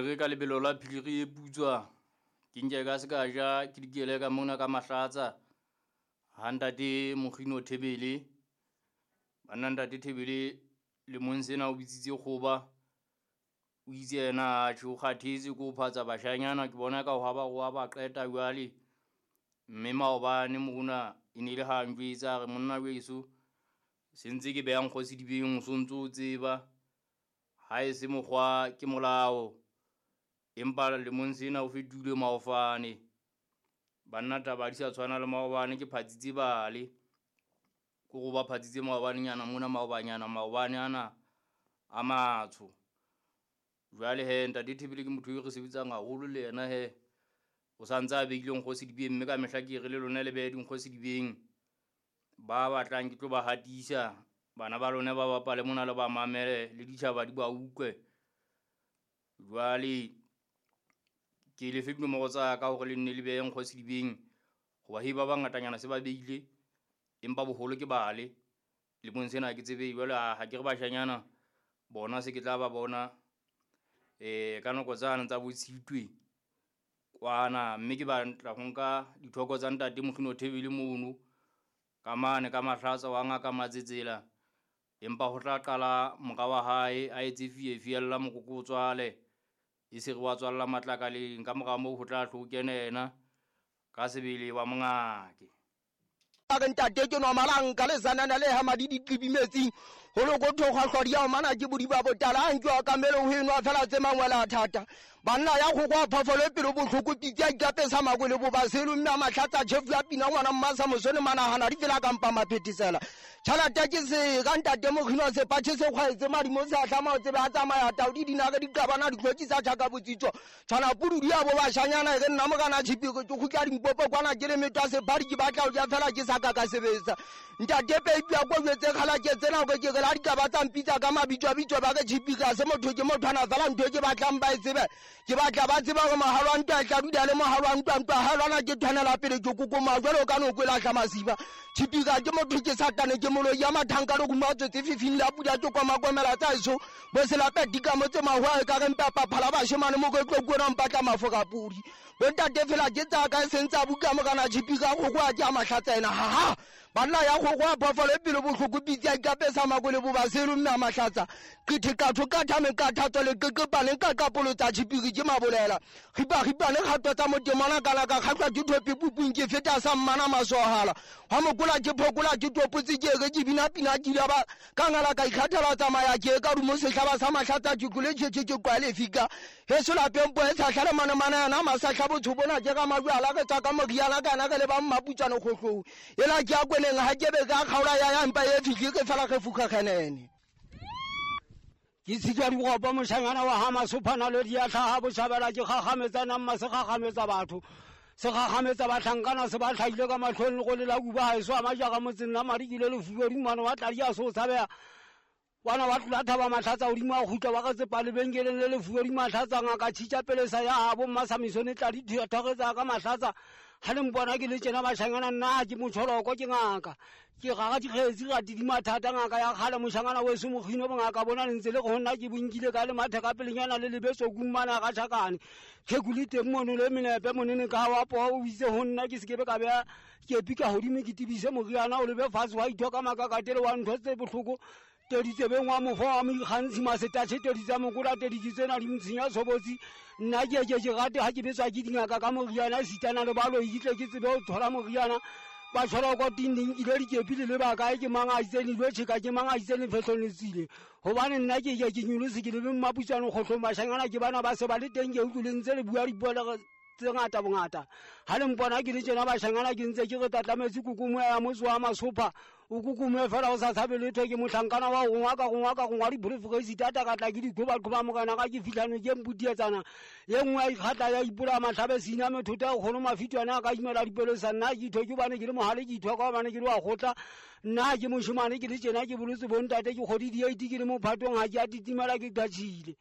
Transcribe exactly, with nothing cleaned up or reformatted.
Re ka lebelo la phiri e putswa ke nke ka se ka ja ke dikele ka mona ka Mahlatsa ha ntate Mokgino Thebele. Banna ntate Thebele lemong sena o bitsitse kgoba, o itse yena atjhe o kgathetse ke ho phatsa bashanyana, ke bona ka ho ba wa ba qeta jwale. Mme maobane mona e ne le ha njwetsa a re monna weso se ntse ke beha nkgo sedibeng o sontso o tseba, ha e se mokgwa ke molao, empa lemong sena o fetohile maofane. Banna taba di sa tshwana le maobane, ke phatsitse bale ko go ba phatsitse maobanenyana mona maobanyana maobane ana a matsho. Jwale he ntate Thebele ke motho eo re sebetsang haholo le yena he, o santse a behile nkgo sedibeng, mme ka mehla ke re le lona le behe dinkgo sedibeng. Ba batlang ke tlo ba hatisa, bana ba lona ba bapale mona le ba mamele le ditjhaba di ba utlwe. Jwale ke le fe dinomoro tsa ka hore le nne le behe nkgo sedibeng, hoba he ba bangatanyana se ba behile, empa boholo ke bale. Lemong sena ha ke tsebe jwale, ha ke re bashanyana bona se ke tla ba bona eh ka nako tsane tsa bo Tshitwe kwana, mme ke batla ho nka dithoko tsa ntate Mokgino Thebele mono ka mane ka Mahlatsa wa ngaka Matsetsela, empa ho tla qala mora wa hae a etse fie fiella mokoko o tswale, e se re wa tswalla matlakaleng. Ka mora moo ho tla hlo kena yena ka sebele wa mongake. A re ntate ke normalang ka lesanana le ha madi di qibi metsing, ho lokotho kgwahlwadi ya mana ke bodiba botala, a nkiwa ka mele ho enwa fela tse mangwele a thata. Banna ya kgokwa phoofolo e pelo bohloko, pitsi ya ikapesa makwele bo baselu, mme a Mahlatsa tjhefu ya pina ngwana mmasa mosone manahana di fela ka mpa maphethisela. Tjhelete ke se ka ntate Mokgino sepatjhe se kgwaetse madimo se a hlama o tsebe a tsamaya tau di dinare di qabana di hlwekisa tjhaka botsitso. Tshwana pudu ya bo bashanyana e re nna mokana tjhipi ke kgutla Limpopo kwana ke le metwa sephadi ke batla ho ja fela ke sa ka ka sebetsa. Ntate peipi ya ko jwetse kgala ke tsena hore ke re la dikaba tsa mpitsa ka mabitso a bitso ba re tjhipi ka se motho ke mothwana fela ntho e ke batlang ba e tsebe. Ke batla ba tseba hore mohalo wa ntwa e tla dula le mohalo wa ntwa, ntwa ha lwana ke tshwanela pele ke kokoma jwalo ka noko e lahla masiba. Tjhipi ka ke motho ke satane ke moloi ya mathanka le kuma tsotsi fifing la pula ke koma komela tsa eso. Bo selape dika motse mahwa e ka re mpa phala bashemane mo ke tlo kuona mpatla mafoka pudi. Bo ntate fela ke tsa ka e sentse a buka mokana tjhipi ka go kwa ke a Mahlatsa ena ha ha. Banna ya go kwa phoofolo e pelo bohloko, pitsi ya ikapesa makwele bo baselu mme a Mahlatsa. Qithe qatho ka thame ka thato le qeqepane ka qapolo tsa tjhipiri ke mabolela. Ripa ripa le kgato tsa motemona kana ka kgatlwa ke thope pupung ke feta sa mmana masohala. Ha mokola ke phokola ke topotse ke re ke bina pina ke ile ba ka ngala ka ikgathela tsamaya ke ka rumo sehlaba sa Mahlatsa ke kule tjhe tjhe ke kwale fika. Heso lapeng po e sa hlale mana mana yana masahla botho bona ke ka majwala ke tsa ka moriana kana ke le ba mmaputsane kgohlong. Ela ke a kweneng ha ke be ka kgaola ya ya mpa e fihle ke fela re fuka kgenene. Ke sitwa dikopo moshanyana wa ha Masophana le diatlha ha botjhabela ke kgakgametsa nama se kgakgametsa batho. Se kgakgametsa bahlankana se ba hlahile ka mahlong le go lela kuba haeso a majaka motseng la madi ke le lefubedu mane wa tladi a so tshabeha. Bana ba tlola thaba Mahlatsa hodimo a kgutla ba ka tsepa lebenkeleng le lefubedu Mahlatsa ngaka tjhitja pelesa ya habo Mmasamisone tladi thoretsa ka Mahlatsa. Ha le mpona ke le tjena bashanyana nna ke motjholoko ke ngaka. Ke gaga dikgetsi ga di mathata ngaka ya kgale moshanyana weso Mokgino bongaka bona le ntse le go nna ke bonkile ka le matheka pelenyana le lebetso kumana ga tjhakane. Tlheku le teng mono le menepe monene ka wa po o itse ho nna ke sekebe ka beha ke pika hodimo ke tibise moriana o lebe fatshe wa ithoka makakatele wa ntho tse bohloko. Tedi tsebeng wa mofo wa moikgantshi masetatjhe tedi tsa mokola tedi ke tsena di ntshenya tshobotsi. Nna ke ke ke rate ha ke betswa ke dingaka ka moriana sitana le baloi ke tle ke tsebe ho thola moriana. Ba tshwara kwa tinding ile dikepi le ba kae ke mang a itseng dilo tjheka ke mang a itseng lefehlong le tsile. Hobane nna ke ke ke nyolose ke le mmaputsane kgohlong bashanyana ke bana ba se ba le teng ke utlwile ntse le bua dipuo le tse ngata bongata. Ha le mpona ke le tjena bashanyana ke ntse ke re tatlametse kukumo ya motse wa Masopha o kukume fela o sa tshabe letho ke mohlankana wa gongwa ka gongwa ka gongwa diprofesitata ka tla ke diqhoba-qhoba morena ka ke fihlano ke mputietsana ye nngwe ya ikgatla ya ipola mahlabe sina methota ya kgono mafitwane a ka imela dipelo sa nna ke itho ke hobane ke le mohale ke itho ka hobane ke le wa kgotla nna ke moshemane ke le tjena ke bolotse bontate ke kgodi di eight ke le mophatong ha ke a titimela ke qatjhile.